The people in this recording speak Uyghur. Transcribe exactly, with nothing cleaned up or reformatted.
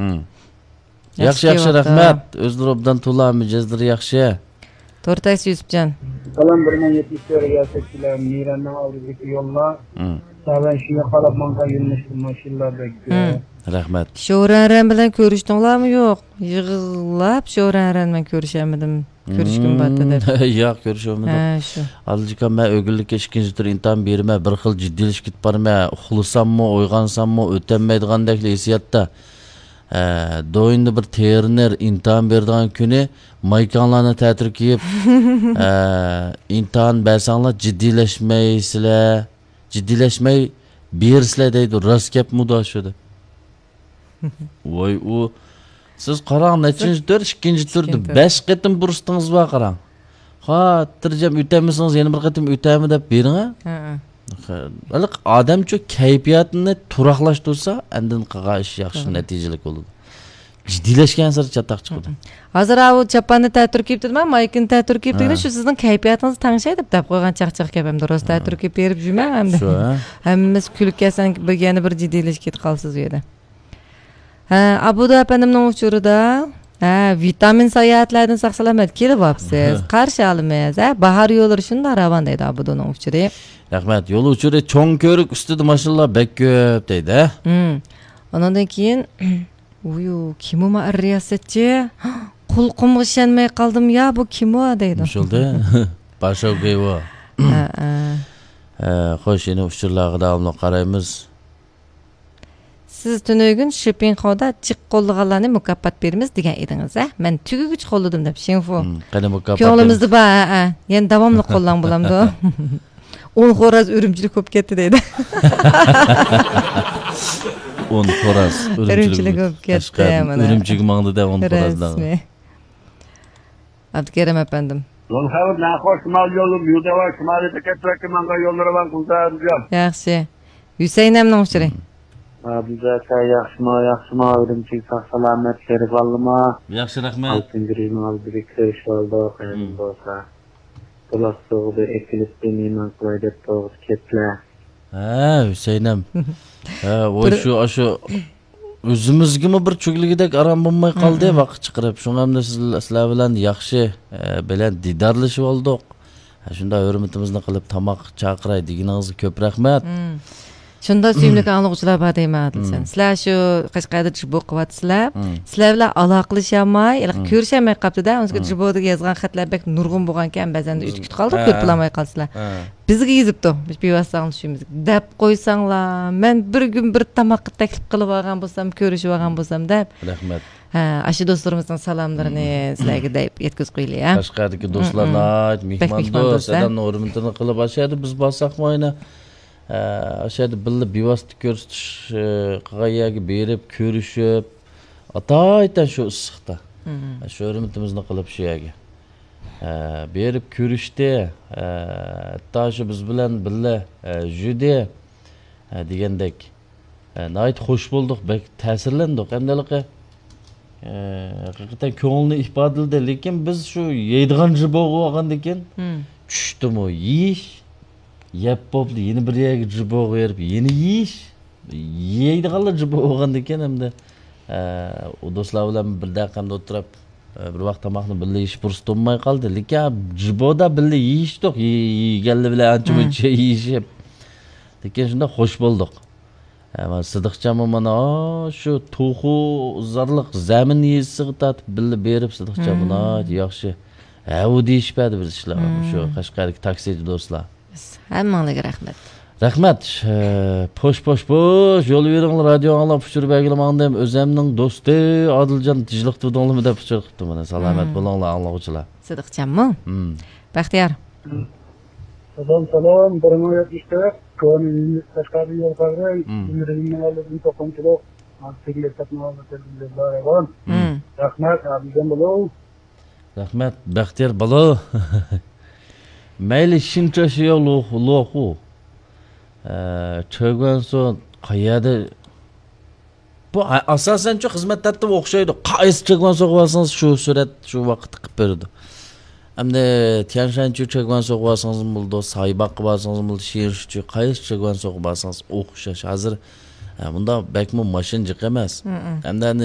مم. ياخشى، ياخشى، ياخشى، كېلىۋاپتۇ. رەھمەت. ئۆزلىرى ئوبدان تولا، مىجەزلىرى ياخشى. تورتاكسى يۈسۈپجان. سالام، بىر مىڭ يەتمىش تۆت رىياسەتچىلەر، مىرەننىڭ ئالدىدىكى يوللار. مم. سەۋەن شۇنى قاراپ ماڭغان يۆنىلىشتە ماشىنىلار بەك كۆپ. مم. رەھمەت. شورەنرەن بىلەن كۆرۈشتۈڭلارمۇ يوق؟ يىغلاپ شورەنرەن بىلەن كۆرۈشەلمىدىم. كۆرۈشكۈم بارتى دەپ. مم. ياق، كۆرۈشەلمىدىم. ھە، شۇ. ئالىجىكام، مەن ئۆگۈنلۈككە ئىككىنچى تۈر ئىمتىھان بېرىمەن، بىر خىل جىددىيلىشىپ كېتىپ بارىمەن. ئۇخلىساممۇ، ئويغانساممۇ، ئۆتەلمەيدىغاندەكلا ھېسسىياتتا. ئە، دويندا بىر تېرېنېر ئىمتىھان بېرىدىغان كۈنى مايكاڭلارنى تەتۈر كىيىپ، ئە، ئىمتىھان بەرسەڭلار جىددىيلەشمەيسىلەر، جىددىيلەشمەي بېرىسىلەر دەيدۇ. راست گەپمۇ دە شۇ دە. ۋاي ئۇ، سىز قاراڭ، نەچچىنچى تۈر؟ ئىككىنچى تۈردە ئىككىنچى تۈر. بەش قېتىم پۇرسىتىڭىز بار، قاراڭ. خاتىرجەم ئۆتەلمىسىڭىز يەنە بىر قېتىم ئۆتەمەن دەپ بېرىڭ، ھە؟ ھە، ھە. ھېلىقى ئادەمچۇ كەيپىياتىنى تۇراقلاشتۇرسا، ئەندىن قىلغان ئىش ياخشى، توغرا. نەتىجىلىك بولىدۇ. جىددىيلەشكەنسېرى چاتاق چىقىدۇ. ھە، ھە. ھازىر ئاۋۇ چاپاننى تەتۈر كىيىپ دېدىم، مايكىنى تەتۈر كىيىپ دېگىنى، ھە. شۇ سىزنىڭ كەيپىياتىڭىز تەڭشەي دەپ دەپ قويغان چاقچاق گەپ ئەمدى. راست، ھە. تەتۈر كىيىپ بېرىپ يۈرمەڭ ئەمدى. شۇ، ھە. ھەممىسى كۈلكە، سەن بىر، يەنە بىر جىددىيلىشىپ كېتىپ قالىسىز ئۇ يەردە. ھە، ئابۇدۇ ئەپەندىمنىڭ ئۇچۇرىدا، ھە، ۋىتامىن ساياھەتلەردىن ساق-سالامەت كېلىۋاپسىز. ھە. قارشى ئالىمىز. ھە، باھار يوللىرى شۇنداق راۋان دەيدۇ ئابۇدۇنىڭ ئۇچۇرى. رەھمەت. يول ئۇچۇرى چوڭ كۆۋرۈك ئۈستىدە ماشىنىلار بەك كۆپ دەيدۇ، ھە؟ ھىم. ئۇنىڭدىن كېيىن، ۋۇيۇ، كىم ئۇ ما رىياسەتچى؟ قۇلىقىمغا ئىشەنمەي قالدىم يا، بۇ كىم ئۇ دەيدۇ. مۇشۇلدى. باشاۋ گېيۋا. ھە، ھە. ھە، خوش، يەنە ئۇچۇرلارغا داۋاملىق قارايمىز. سىز تۈنۈگۈن شىپىڭخودا جىق قوللىغانلارنى مۇكاپات بېرىمىز دېگەن ئىدىڭىز، ھە؟ مەن تۈگىگۈچە قوللىدىم دەپ، شىڭفۇ. ھىم، قېنى مۇكاپات كۆڭلىمىزدە بار، ھە، ھە. يەنە داۋاملىق قوللاڭ بولامدۇ؟ ئون خوراز ئۈرۈمچىلىك بولۇپ كەتتى دەيدۇ. ئون خوراز ئۈرۈمچىلىك ئۈرۈمچىلىك بولۇپ كەتتى، قەشقەردىن مانا. ئۈرۈمچىگە ماڭدى دە ئون خوراز دەڭ. رەسمىي. ئابدۇكېرىم ئەپەندىم. يول خەۋپ ناخوش شىمال يولى، يۇداۋا شىمالىي بېكەتلەرگە ماڭغان يوللىرى بار قۇلدا ئەمدىجان. ياخشى. ھۈسەيىن ئەمنىڭ ئۇچۇرى. ئابدۇزەكە ياخشىما، ياخشىما، ئۈرۈمچىگە ساق سالامەت بېرىپ ئالدىما؟ ياخشى، رەھمەت. ئالتىنچى رېيىنىڭ ئالدىدىكى كۆرۈشۈۋالدۇق، قېنىم بولسا. بۇلاق سۇغىدا ئېكىلىپ مېھمان قىلاي دەپ تۇرغۇچە كەتلە. ھە، ھۈسەيىنەم. ھە، ۋاي بىر شۇ، ئاشۇ ئۆزىمىزگىمۇ بىر چۆگىلىگۈدەك ئارام بولماي قالدى، ھىم، ھىم. ۋاقىت چىقىرىپ. شۇڭا ئەمدى سىز، سىلەر بىلەن ياخشى، ئە، بىلەن دىدارلىشىۋالدۇق. ھە، شۇنداق ھۆرمىتىمىزنى قىلىپ تاماق چاقىراي دېگىنىڭىزگە كۆپ رەھمەت. ھىم. شۇنداق سۆيۈملۈك ئاڭلىغۇچىلار بار دەيمەن، ئادىلجان. ھىم. سىلەر شۇ قەشقەردە جىبو قىلىۋاتىسىلەر. ھىم. سىلەر بىلەن ئالاقىلىشالماي، ھېلىقى ھىم. كۆرۈشەلمەي قاپتۇ-دە. ئۇنىڭ ئۈستىگە ھىم. جىبودىكى يازغان خەتلەر بەك نۇرغۇن بولغانكەن، بەزەندە ئۆتۈپ كېتىپ قالىدۇ، ھە. كۆرۈپ بولالماي قالىسىلەر. ھە. بىزگە يېزىپتۇ، بىۋاسىتە ئاڭلىشىمىز. دەپ قويساڭلار، مەن بىر كۈن بىر تاماققا تەكلىپ قىلىۋالغان بولسام، كۆرۈشۈۋالغان بولسام دەپ. رەھمەت. ھە، ئاشۇ دوستلىرىمىزنىڭ سالاملىرىنى ھىم. سىلەرگە دەپ يەتكۈزۈپ قويىلى، ھە. قەشقەردىكى ھىم، دوستلار ھىم. ناھايىتى بەك مېھماندوست، مېھماندوست، ھە. ئادەمنىڭ ھۆرمىتىنى قىلىپ، ئاشۇ يەردە بىز بارساقمۇ ئەنە، ئە، ئاشۇ يەردە بىللە بىۋاسىتە كۆرسىتىش، ئە، قىلغان يەرگە بېرىپ، كۆرۈشۈپ، ئاتايتەن شۇ ئىسسىقتا. ھىم. شۇ ھۆرمىتىمىزنى قىلىپ شۇ يەرگە. ئە، بېرىپ كۆرۈشتى. ئە، ھەتتا شۇ بىز بىلەن بىللە، ئە، يۈردى. ئە، دېگەندەك. ئە، ناھايىتى خوش بولدۇق، بەك تەسىرلەندۇق. ئەمدى ھېلىقى، ئە، ھەقىقەتەن كۆڭلىنى ئىپادىلىدى. لېكىن بىز شۇ يەيدىغان جىبوغا بارغاندىن كېيىن، ھىم. چۈشتىمۇ يېيىش، يەپ بوپتۇ، يەنە بىر يەرگە جىبوغا بېرىپ، يەنە يېيىش. يەيدىغانلا جىبو بولغاندىن كېيىن ئەمدى، ئە، ئۇ دوستلار بىلەن بىردەك ئەمدى ئولتۇرۇپ، ئە، بىر ۋاق تاماقنى بىللە يېيىش پۇرسىتى بولماي قالدى. لېكىن جىبودا بىللە يېيىشتۇق، يې-، يېگەنلەر بىلەن ئانچە ھىم. مۇنچە يېيىشىپ. لېكىن شۇنداق خوش بولدۇق. ئە، مانا سىدىقجانمۇ مانا، ئا، شۇ توخۇ زارلىق زەمىن يېزىسىغا تارتىپ بىللە بېرىپ، سىدىقجانمۇ مم. ناھايىتى ياخشى. ھەۋۇ دېيىشىپ بەردى بىر ئىشلار. مم. شۇ قەشقەردىكى تاكسىچى دوستلار. ھەممىڭلارغا رەھمەت. رەھمەت. ئە، پوش، پوش، پوش. يول بېرىڭلار، رادىيو ئاڭلاپ ئۇچۇر بەرگىلى ماڭدىم. ئۆزەمنىڭ دوستى ئادىلجان تىنچلىق تۇردۇڭلارمۇ دەپ ئۇچۇر قىپتۇ مانا. سالامەت مم. بولۇڭلار، ئاڭلىغۇچىلار. سىدىقجانمۇ؟ مم. بەختىيار. سالام، سالام، بىر مىڭ يەتمىش تۆت، كونا يېڭى قەشقەردىن يول قارىغاي، مم. ئىمرىنىڭ ئالدىدىن توقۇمىچىلىق، سىگنال سەپنىڭ ئالدىدىن يوللار ئايۋان. مم. رەھمەت، ئابىجان بولۇڭ. رەھمەت، بەختىيار بالا. مەيلى شىنچاشياۋ لوخۇ، لوخۇ. ئە، چۆگۈەنسۇ قەيەردە؟ بۇ، ئە، ئاساسەنچۇ خىزمەت تەرتىپى ئوخشايدۇ. قايسى چۆگۈەنسۇغا بارسىڭىز، شۇ سۈرەت، شۇ ۋاقىتتا قىلىپ بېرىدۇ. ئەمدى تيەنشەنچۇ چۆگۈەنسۇغا بارسىڭىزمۇ بولىدۇ، سايباغقا بارسىڭىزمۇ بولىدۇ، شىنشۇچۇ، قايسى چۆگۈەنسۇغا بارسىڭىز ئوخشاش. ھازىر، ئە، مۇنداق بەكمۇ ماشىنا جىق ئەمەس. مم. ئەمدى